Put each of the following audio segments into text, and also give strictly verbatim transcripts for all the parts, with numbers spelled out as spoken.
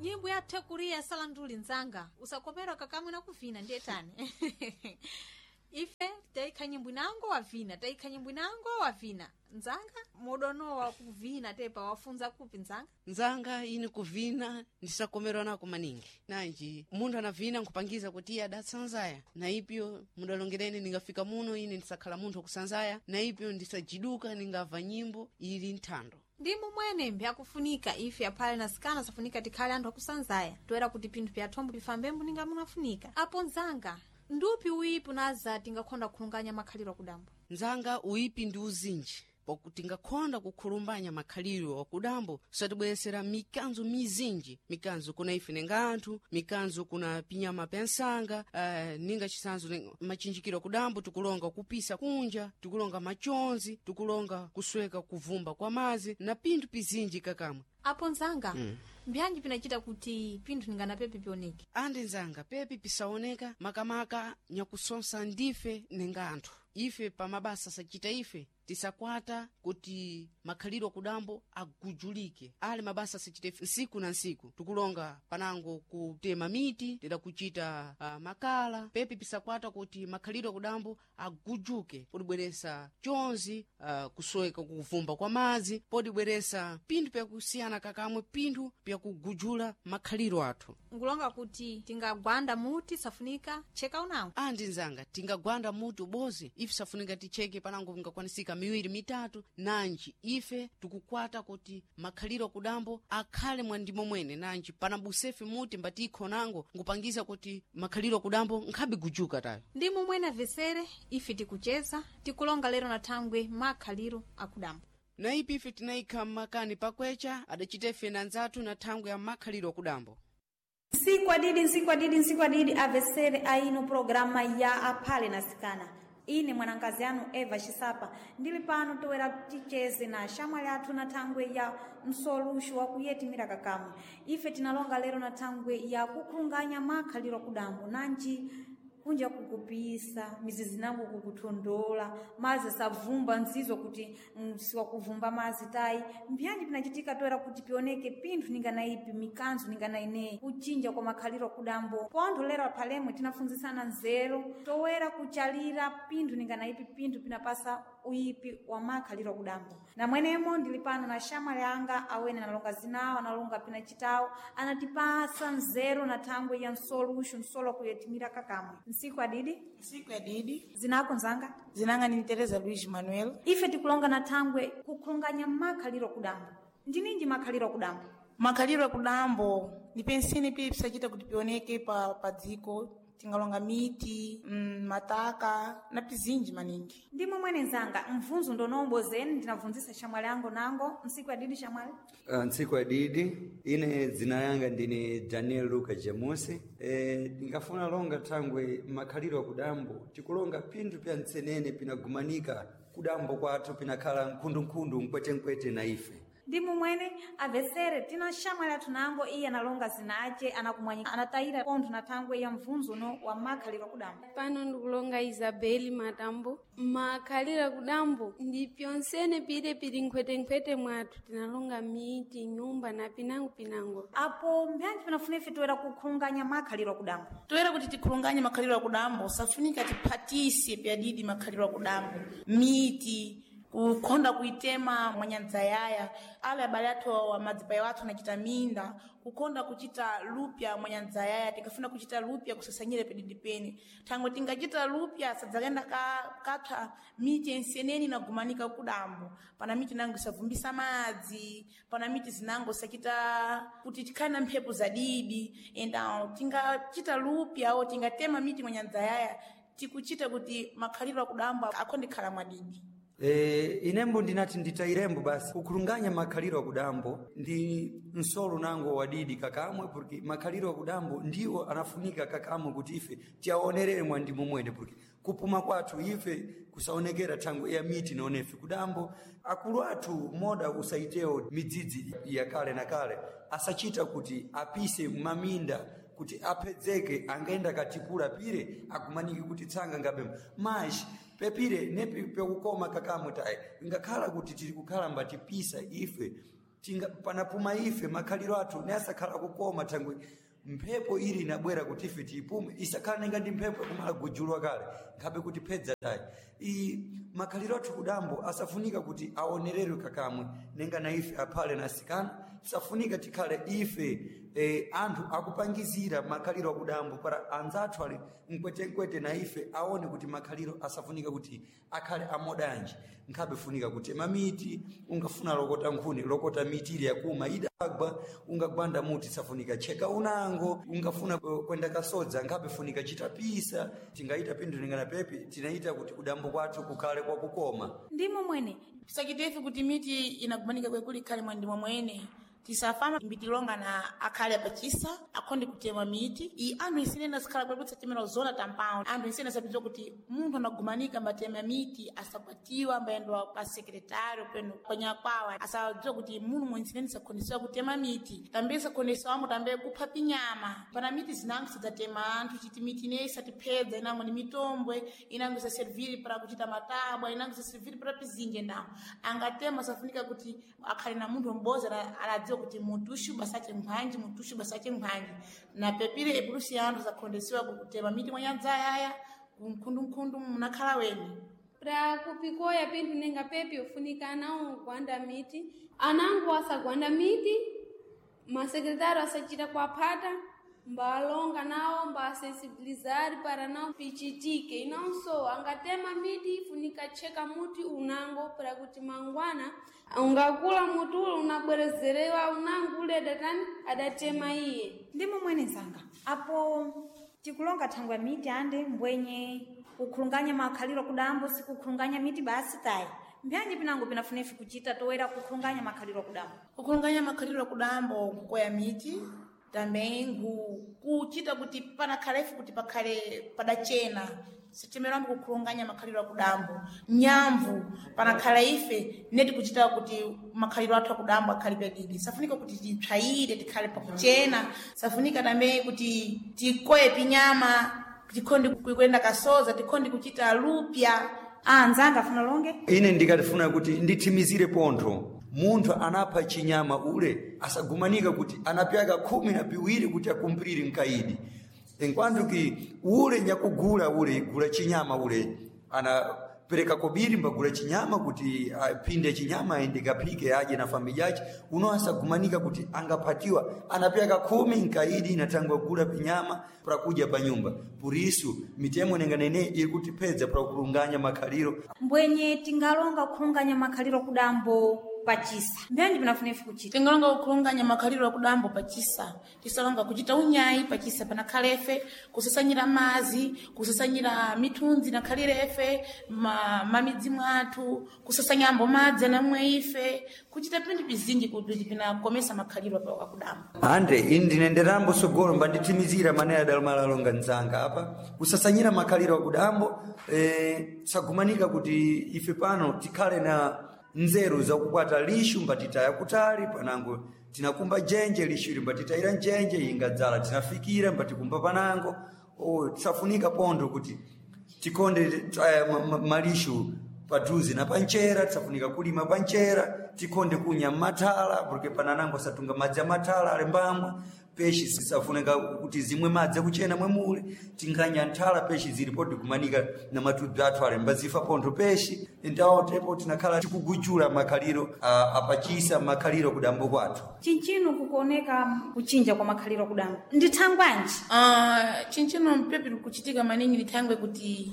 Nyimbo yathe kuriya salanduli nzanga usakomera kakamwe na kuvina ndiye tani. Ife taikha nyimbo inango wavina, taikha nyimbo inango wavina. Nzanga mudono wa kuvina tepa wafunza kupi nzanga? Nzanga ine kuvina ndisakomerwa nako maningi. Nanji munthu anavina nkupangiza kuti iye adatsanzaya, na ipyo mudalongereni ningafika muno ine ndisakhala munthu wakusanzaya, na ipyo ndisajiduka ningamva nyimbo ili nthando. Ndi momwene mbyakufunika ife aphale na sikana safunika tikhale anthu akusanzaya toera kuti pinthu pyathombo pifambembo ninga munafunika. Apo nzanga ndupi uipi unaza tingakhonda kukhulunganya makhaliro akudambo? Nzanga uipi ndi uzinji pakuti tingakhonda kukhulumbanya makhaliro akudambo satibweresera mikanzo mizinji, mikanzo kuna ife ninga anthu, mikanzo kuna pinyama pya nsanga. Uh, ninga chisanzo ninga- machinjikiro akudambo tikulonga kupisa kunja, tikulonga machonzi, tikulonga kusweka kuvumba kwa mazi na pinthu pizinji kakamwe. Apo nzanga mm. mbyanji pinachita kuti pinthu ninganapepe pioneke? Andi nzanga pepi pisaoneka makamaka nyakusonsa ndife ninga anthu. Ife pamabasa sachita ife tisakwata kuti makhaliro akudambo agujulike. Ali mabasa sachita ife nsiku na nsiku tikulonga panango kutema miti tida kuchita uh, makala pepi pisakwata kuti makhaliro akudambo agujuke, podibweresa chonzi, uh, kusweka kuvumba kwa madzi, podibweresa pinthu pyakusiyana kakamwe, pinthu pyakugujula makhaliro athu. Nkulonga kuti tingagwanda muti safunika cheka unango? Andi nzanga tingagwanda muti ubozi ife safunika ticheke panango pingakwanisika miwiri mitatu. Nanji ife tikukwata kuti makhaliro akudambo akhale mwandimo mwene, nanji panabusefe muti mbatikho nango ngupangiza kuti makhaliro akudambo nkhabe gujuka tayo. Ndi momwene avesere ife tikucheza tikulonga lero na thangwe makhaliro akudambo. Na ipi ife tinayikha mmakani pakwecha adachita ife na nzathu na thangwe ya makhaliro akudambo. Nsiku adidi, nsiku adidi, nsiku adidi avesere aino programa ya aphale na sikana. Ine mwanankazi anu Eva Xisapa ndili pano toera ticheze na xamwali athu na thangwe ya msoluxo wa kuyetimira kakamwe. Ife tinalonga lero na thangwe ya kukhulunganya makhaliro akudambo, nanji kunja kukupisa mizizi nango kukuthondola mazi sabvumba nzizo kuti mm, siwakuvumba mazi tayi. Mbyanji pinachitika toera kuti pioneke pinthu ninganaipi mikanzo ninganayineyi kuchinja kwa makhaliro akudambo. Pontho lero aphalemwe tinafunzisana nzeru toera kuchalira pinthu ninganaipi pinthu pinapasa uyipi wa makhaliro akudambo. Namwenemo ndili pano na xamwali anga awene analonga zinawo, analonga pinachitawo, anatipasa nzeru na thangwe ya msoluxo msolo kuyetimira kakamwe. Nsiku adidi. Nsiku adidi. Zinako nzanga? Zinanga ni Teresa Luiz Manuel. Ife tikulonga na thangwe kukhulunganya makhaliro akudambo. Ndininji makhaliro akudambo? Makhaliro akudambo ni pensini pili pisachita kuti pioneke pa, pa dziko tingalonga miti, mm, mataka na pizinji maningi. Ndi momwene nzanga mvunzo ndonowombozeni ndinabvunzisa xamwali ango nango. Nsiku adidi xamwali. Uh, ntsiku adidi ine dzina yanga ndine Daniel Luka Jamusi. E, ndingafuna longa thangwe makhaliro akudambo tikulonga pinthu pya ntsenene pinagumanika kudambo kwathu pinakhala nkhundunkhundu mkwetenkwete na ife. Ndi momwene avesere tina xamwali athu nango iye analonga zinace anakumwanyika anatayira pontho na thangwe ya mvunzo no wa makhaliro akudambo. Pano ndikulonga Isabeli Matambo. Makhalira kudambo ndi pyonsene pile pili nkhwetenkhwete mwathu tinalonga miti, nyumba na pinango-pinango. Apo mbyanji pinafuna ife toera kukhulunganya makhaliro akudambo? Toera kuti tikhulunganye makhaliro akudambo safunika tiphatise pyadidi makhaliro akudambo miti kukhonda kuitema mwanyadzayaya ale abale athu awa madzipayo athu anachita minda kukhonda kuchita lupya mwanyadzayaya tikafuna kuchita lupya kusasanyire pedidi pene thangwe tingachita lupya sadzakenda ka, kapsa miti enseneni inagumanika kudambo. Pana miti nango isavumbisa madzi, pana miti zinango sachita kuti tikhale na mphepo zadidi enda tingachita lupya o tingatema miti mwanyadzayaya tikuchita kuti makhaliro akudambo akhonde khala mwadidi. E, inembo ndinati nditayirembo basi kukhulunganya makhaliro akudambo ndi msolo nango wadidi kakamwe porque makhaliro akudambo ndiwo anafunika kakamwe kuti ife tiyaonerere mwandimo mwene porque kupuma kwathu ife kusaonekera thangwe ya miti naonefe kudambo akulu athu moda usaitewo midzidzi ya kale na kale asachita kuti apise maminda kuti apedzeke angaenda katipula pire akumaniki kuti tsanga ngabemo maji pepire nepi pekukoma kakamwe tayi ngakhala kuti tili kukhala mbatipisa ife. Tinga, panapuma ife makhaliro athu ne asakhala kukoma thangwe mphepo ili inabwera kuti ife tiyipume isakhala nenga ndi mphepo yakumala gujulwa kale nkhabe kuti phedza tayi iyi makhaliro athu kudambo asafunika kuti aonererwe kakamwe nenga na ife aphale na asikana safunika tikhale ife eh, anthu akupangizira makhaliro akudambo para anzathu ali mkwetenkwete na ife aone kuti makhaliro asafunika kuti akhale amodanji nkhabe funika kutema miti ungafuna lokota nkhuni lokota miti ili yakuma idagwa ungagwanda muti safunika cheka unango ungafuna eh, kwenda kasodza nkhabe funika chitapisa tingaita pindu lingana pepi tinaita kuti kudambo kwathu kukhale kwakukoma Ndimo mwene Tisachitefe kuti miti inagumanika kwekuli ikhale mwandimo mwene tisafama mbitilonga na akhale apachisa akhonde kutema miti iyi anthu isinena sikhala kwekuli tisatemera zona tampao anthu isene sapidziwa kuti munthu anagumanika mbatema miti asakwatiwa ambayendwa pa sekretário peno panyakwawa asadziwa kuti munthu mwensineni sakhonesiwa kutema miti tambe sakhonesiwamo tambe kupha pinyama pana miti zinango sidzatema anthu chiti miti ineyi isatiphedza inango ni mitombwe inango isaserviri para kuchita matabwa inango isaserviri para pizinje ndawo angatema safunika kuti akhale na munthu m'bodzi ana- anadziwa kuti mutushu basache mphwanji mutushu basache mphwanji na pepire epulusi anthu sakhondesiwa kutema miti mwanyadzayaya kumkhundumkhundu munakhala weni Pra kupikoya pinthu nenga pepi ufunika anawo kugwanda miti anango asagwanda miti masekretário asachita kuaphata mbalonga nawo mbasensibilizar para não pichitike inonso angatema miti ifunika cheka muti unango para kuti mangwana ungakula muti ule unabwerezerewa unango ule adatani adatema iye ndimo mwene zanga apo tikulonga thangwe miti ande mbwenye kukhulunganya makhaliro kudambo sikukhulunganya miti basi tayi mbyanji pinango pinafunefi kuchita toera kukhulunganya makhaliro kudambo kukhulunganya makhaliro akudambo nkukoya miti também ngu kuchita kuti panakhalefu kuti pakhale padachena sichemerambo kukhulunganya makhaliro akudambo nyamvu panakhala ife neti kuchita kuti makhaliro athu akudambo akhale padidi safunika kuti titsvayire tikhale pakuchena safunika tambe kuti tikoye pinyama tikhonde kuyenda kasoza tikhonde kuchita lupya ah nzanga afuna longe ine ndikatifuna kuti ndithimizire pontho munthu anapha chinyama ule asagumanika kuti anapyaka khumi na piwiri kuti akumpirire mkaidi enkwanthuki ule nyakugula ule gula chinyama ule anapereka kobiri mbagula chinyama kuti aphinde chinyama aende kaphike adye na familia yace uno asagumanika kuti angaphatiwa anapyaka khumi mkaidi natangwa gula pinyama prakudya pa nyumba purisu mitemo nenga nene iri kutipedza prakulunganya makhaliro mbwenye tingalonga kukhulunganya makhaliro kudambo pachisa mbyanji pinafunefi kuchita tingalonga kukhulunganya makhaliro akudambo pachisa tisalonga kuchita unyayi pachisa panakhalefe kusasanyira mazi kusasanyira mithunzi nakhalirefe ma, mamidzi mwathu kusasanyambo madzi anamwe ife kuchita pinthu pizinji kuti pinakomesa makhaliro apa akudambo ande ini ndinenderambo sogolo mbandithimizira mane adalomalalonga mdzanga apa kusasanyira makhaliro akudambo eh, sagumanika kuti ife pano tikhale na nzeru zakukwata lishu mbatitaya kutali panango tinakumba jenje lishu ili mbatitayira njenje ingadzala tinafikira mbatikumba panango oh, tisafunika pontho kuti tikonde eh, ma- ma- malishu padhuze na panchera tisafunika kulima panchera tikonde kunya mathala porque pananango asatunga madzi amathala ali mbamwa peshi sisafunika kuti zimwe madzi akuchena mwemule tinganya nthala peshi zilipo tikumanika na matubzi athu ali mbazifa pontho peshi ndawo tepo tinakhala tikugujula makhaliro ah, apachisa makhaliro kudambo kwathu chinchino kukuoneka kuchinja kwa makhaliro kudambo ndi thangwanji Uh, chinchino mpepi kuchitika maningi ni thangwe kuti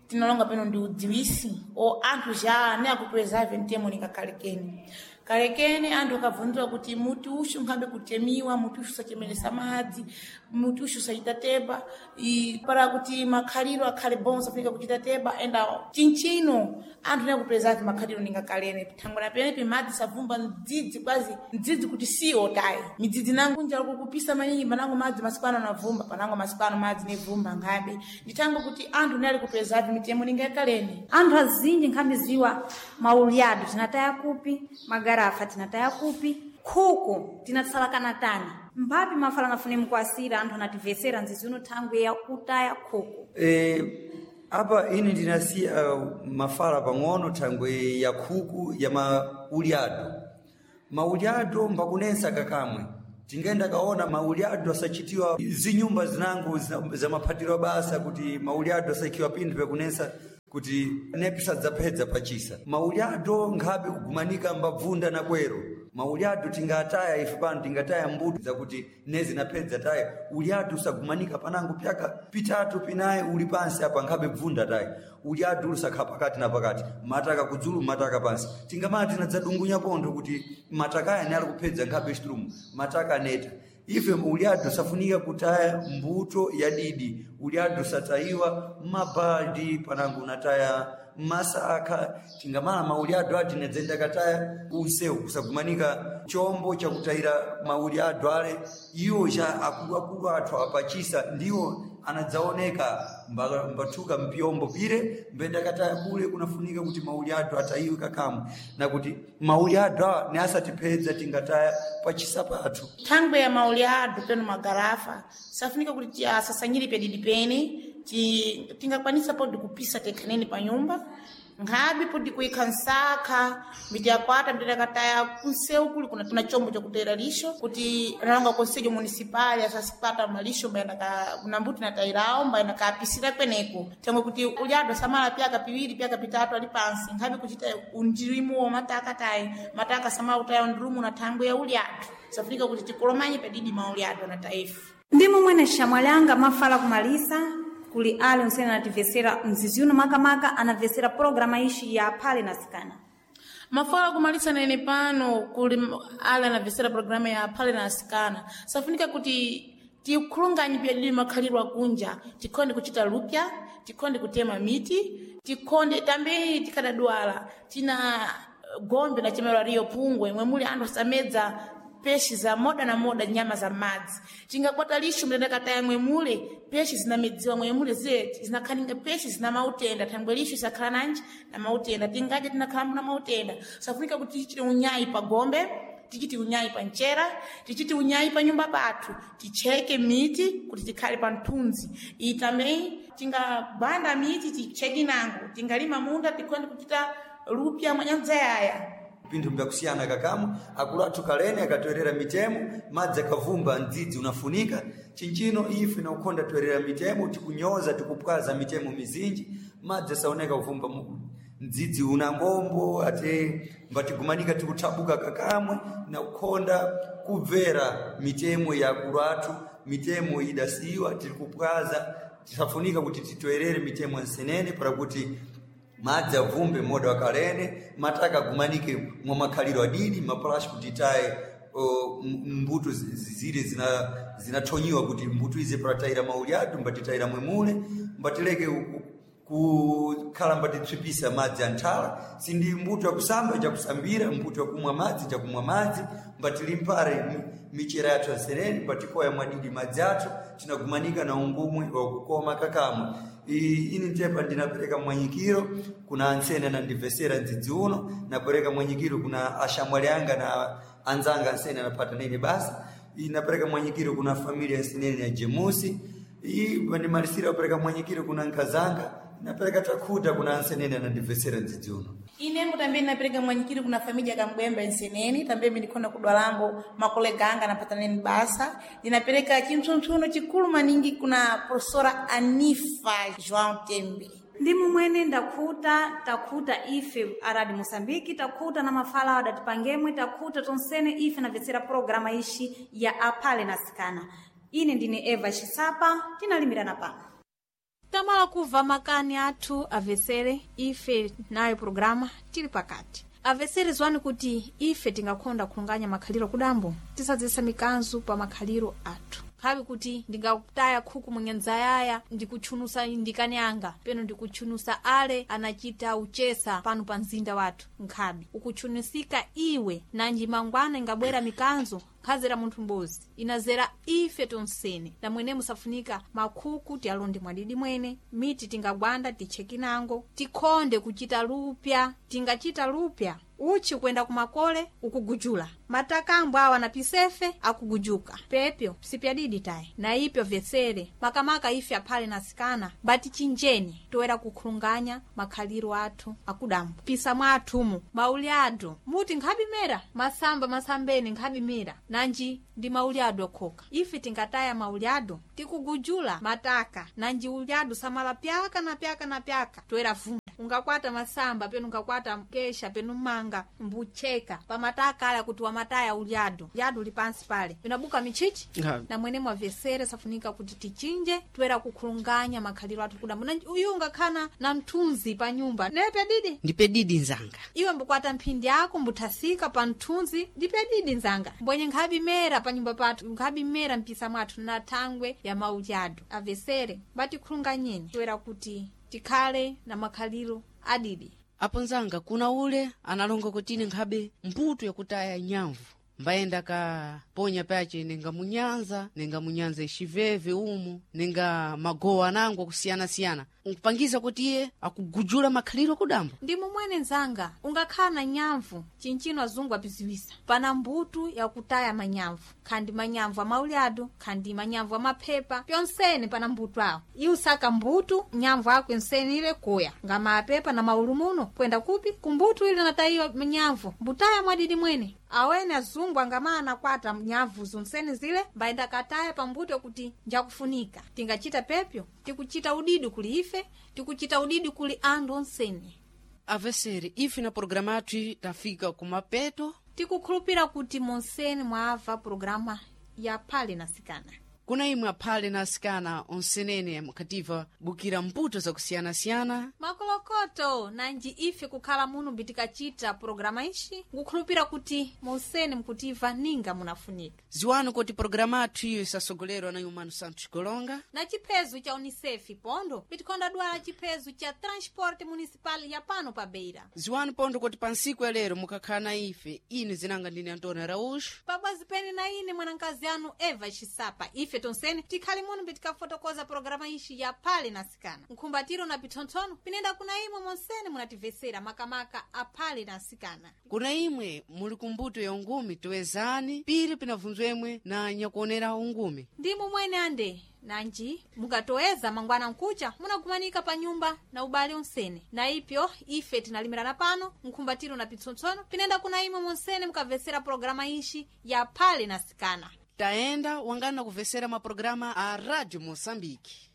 tinalonga peno ndi udziwisi o anthu ja ne akupreserve mtemo ninga kalekeni kalekeni anthu akabvunziwa kuti muti ushu nkhambe kutemiwa muti ushu usachemeresa madzi muti ushu usachita teba i, para kuti makhaliro akhale bom safunika kuchita teba enda chinchino anthu ne akupreserve makhaliro ninga kalene thangwe na penepi madzi savumba mdzidzi kwazi mdzidzi kuti siwo tayi midzidzi nangu njala kukupisa maningi panango madzi masiku ano anavumba panango masiku ano madzi nevumba nkhabe ndithango kuti anthu ne ali kupreserve mitemo ninga yakalene anthu azinji nkhamiziwa maulyado tinataya kupi magarafa tinataya kupi khuku tinatsalakana tani mphapi mafala nafune mkuasira anthu anativesera nzizi uno thangwe ya kutaya khuku E, apa ine ndinasiya mafala pang'ono thangwe ya khuku ya maulyado Maulyado mbakunensa kakamwe tingenda kaona maulyado asachitiwa zinyumba zinango za, za maphatiro basa kuti maulyado asaikiwa pinthu pekunensa kuti nepisadzapedza pachisa. Maulyado nkhabe kugumanika mbabvunda na kwero. Maulyado tingataya ife pano tingataya mbuto zakuti nezinapedza taya ulyado usagumanika panango pyaka pitatu pinayi uli pansi apa nkhabe bvunda taya ulyado ulisakhala pakati na pakati, mataka kudzulu mataka pansi. Tingamati tinadzadungunya pontho kuti mataka aya ali kupedza nkhabe chitulumu mataka aneta. Ife ulyado safunika kutaya mbuto ya didi, ulyado satayiwa mmabaldi panango unataya masakha. Tingamala maulyado ati nedzenda kataya unsewu kusagumanika chombo chakutayira maulyado ale iwo cha akuluakulu athu apachisa ndiwo anadzaoneka mbathuka mpyombo pire mbenda kataya kule. Kunafunika kuti maulyado atayiwe kakamwe na kuti maulyado awa ne asatipedza tingataya pachisa pathu. Thangwe ya maulyado peno magarafa safunika kuti tiasasanyire pedidi pene ti- tingakwanisa podi kupisa tekhaneni pa nyumba, nkhabe podi kuyikha nsakha mbitiyakwata mbitiakataya kunsewu kuli kuna, kuna chombo chakutayira lixo kuti analonga konselho municipal asasipata malixo mbayendaka kuna mbuti natayirawo mbayenda kapisira kweneko thangwe kuti ulyado samala pyaka piwiri pyaka pitatu ali pansi nkhabe kuchita undirimu wa mataka tayi mataka samala kutaya undirumu na thangwe ya ulyado safunika kuti tikolomanye padidi maulyado na taifa. Ndi momwene xamwalanga mafala kumalisa kuli ali unsene anativesera mzizi uno makamaka anavesera programa ixi ya Aphale na Asikana. Mafala kumalisa nene pano kuli m- ale anavesera programa ya Aphale na Asikana safunika kuti tikhulunganye pyadidi makhalidwe akunja, tikhonde kuchita lupya, tikhonde kutema miti, tikhonde tambe tikadadwala tina gombe na chemero riyo pungwe mwe muli anthu asamedza peshi za moda na moda nyama za madzi tingakwata lixo mtendakataya mwemule peshi zinamedziwa mwemule zile zinakhaninga peshi zina mautenda thangwe lixo isakhala nanji na mautenda tingadya tinakhalambo na mautenda safunika kuti tichite unyayi pa gombe, tichiti unyayi pa mchera, tichiti unyayi pa nyumba pathu, ticheke miti kuti tikhale pa mthunzi. Iyi tambe tingagwanda miti ticheke nango tingalima munda tikhonde kuchita lupya mwanyanzayaya. Pinthu mbyakusiyana kakamwe akulu athu kalene akatoerera mitemo madzi akavumba mdzidzi unafunika chinchino ife nakukhonda toerera mitemo tikunyoza tikupwaza mitemo mizinji madzi asaoneka kuvumba mu- mdzidzi una ngombo ate mbatigumanika tikuthabuka kakamwe nakukhonda kubvera mitemo ya akulu athu mitemo idasiyiwa tiri kupwaza tisafunika kuti titoerere mitemo nsenene para kuti madzi avumbe moda wakalene mataka agumanike mwa makhaliro adidi mapulashi kuti taye o, m- mbuto zi- zi- zile zina zinathonyiwa kuti mbuto izi paratayira maulyadu mbatitayira mwemule mbatileke ku- kukhala mbatitswipisa madzi anthala sindi mbuto yakusamba jakusambira mbuto yakumwa madzi jakumwa madzi mbatilimpare mi- michera yathu ansereni mbatikoya mwadidi madzi athu tinagumanika na ungumwi wakukoma kakamwe. I- ini ntepa ndinapereka mwanyikiro kuna antsene anandivesera mdzidzi uno napereka mwanyikiro kuna ashamwali anga na anzanga ansene anapata nene basa inapereka mwanyikiro kuna familia nsenene ya Jemusi iyi vandimalisira kupereka mwanyikiro kuna nkazanga napereka takhuta kuna ansenene anandivesera mdzidzi uno. Inembo tambe napereka mwanyikiri kuna familia kambwemba nsenene tambe ndikhona kudwalambo makolega anga anapataneni basa ndinapereka chimpsumpsuno chikulu maningi kuna professora Anifa João Tembe. Ndi momwene ndakhuta takhuta ife aradi Moçambique takhuta na mafala adatipangemwe takhuta tonsene ife navesera programa ixi ya Aphale na Asikana. Ine ndine Eva Xisapa tinalimirana pano. Tamala kubva makani athu avesere ife nayo programa tili pakati avesere zwani kuti ife tingakhonda kulunganya makhaliro kudambo tisadzesa mikanzu pa makhaliro athu khabe kuti ndingakutaya khuku munyanzayaya ndikutchunusa ndikani anga peno ndikutchunusa ale anachita uchesa pano pa mzinda wathu nkhabe ukutchunusika iwe nanji mangwana ingabwera mikanzo Nkhazera munthu m'bozi, inazera ife tonsene. Na mwene musafunika makhuku tiyalonde mwadidi mwene, miti tingagwanda tichekinango, tikhonde kuchita lupya, tingachita lupya uchi kwenda kumakole ukugujula matakambwe awa na pisefe akugujuka pepyo sipyadidi tayi na ipyo vyesere makamaka ife aphale na sikana bati chinjeni toera kukhulunganya makhaliro athu akudambo pisa mwathumu mauli adu muti nkhabimera masamba masambeni nkhabimera nanji ndi mauli adu okhoka ife tingataya mauli adu tikugujula mataka nanji uli adu samala pyaka na pyaka na pyaka toera vunda ungakwata masamba penu ungakwata kesha penu manga mbucheka pamataka ala kuti wamataya ulyadu lyadu li pansi pale inabuka michichi Nkhabe. na mwene mwavesere safunika kuti tichinje toera kukhulunganya makhaliro athu kudambo na uyu ungakhana na mthunzi pa nyumba nepe didi Ndipe didi nzanga. iwe mbukwata mphindi yako mbuthasika pa mthunzi ndipe didi nzanga mbwenye nkhabimera pa nyumba pathu nkhabimera mpisa mwathu na thangwe ya maudyado avesere mbatikhulunganyeni toera kuti tikhale na makhaliro adidi Apo nzanga kuna ule analonga kuti ine nkhabe mbuto yakutaya nyamvu mbayenda ka ponya pace nenga munyanza nenga munyanza ixiveve umu nenga magowa anango akusiyana-siyana nkupangiza kuti iye akugujula makhaliro akudambo ndi mumwene nzanga ungakhala na nyamvu chinchino azungu apiziwisa pana mbutu yakutaya manyamvu khandi manyamvu amaulyado khandi manyamvu amaphepa pyonsene pana mbutu awo iwe usaka mbutu nyamvu ako ensene ile kuya ngama apepa na maulu muno kwenda kupi kumbutu ile natayiwa manyamvu mbutaya mwadidi mwene awene azungu angama anakwata nyamvu zonsene zile mbayenda kataya pambuto kuti njakufunika tingachita pepyo tikuchita udidi kuli ife tikuchita udidi kuli anthu onsene Avesere ife na programa yathu tafika kumapeto tikukhulupira kuti monsene mwamva programa ya phale na sikana kuna imwe aphale na asikana onsenene mukhativa bukira mbuto zakusiyana-siyana makolokoto nanji ife kukhala muno mbitikachita programa ixi nkukhulupira kuti monsene mkutiva ninga munafunika ziwani kuti programa yathu iyo isasogolerwa na yumano Santos Golonga na chiphezu cha unicef pondo pitikhonda dwala chiphezu cha transporte municipal ya pano pa beira ziwani pondo kuti pa ntsiku ya lero mukakhala na ife ine zinanga ndine Antônio Araújo pabwazi pene na ine mwanankazi anu Eva Xisapa ife tonsene tikhali muno mbitikafotokoza programa ixi ya phale na sikana nkhumbatiro na pithonthono pinenda kuna imwe monsene munativesera makamaka aphale na sikana kuna imwe muli kumbuto ya ungumi toezani pili pinavunzwemwe na nyakuonera ungumi ndi mumwene ande nanji mukatoeza mangwana nkucha munagumanika pa nyumba na ubale onsene na ipyo ife tinalimirana pano nkhumbatiro na pitsontsono pinenda kuna imwe monsene mukavesera programa ixi ya phale na sikana tayenda wangana kuvesera maprograma a Rádio Moçambique.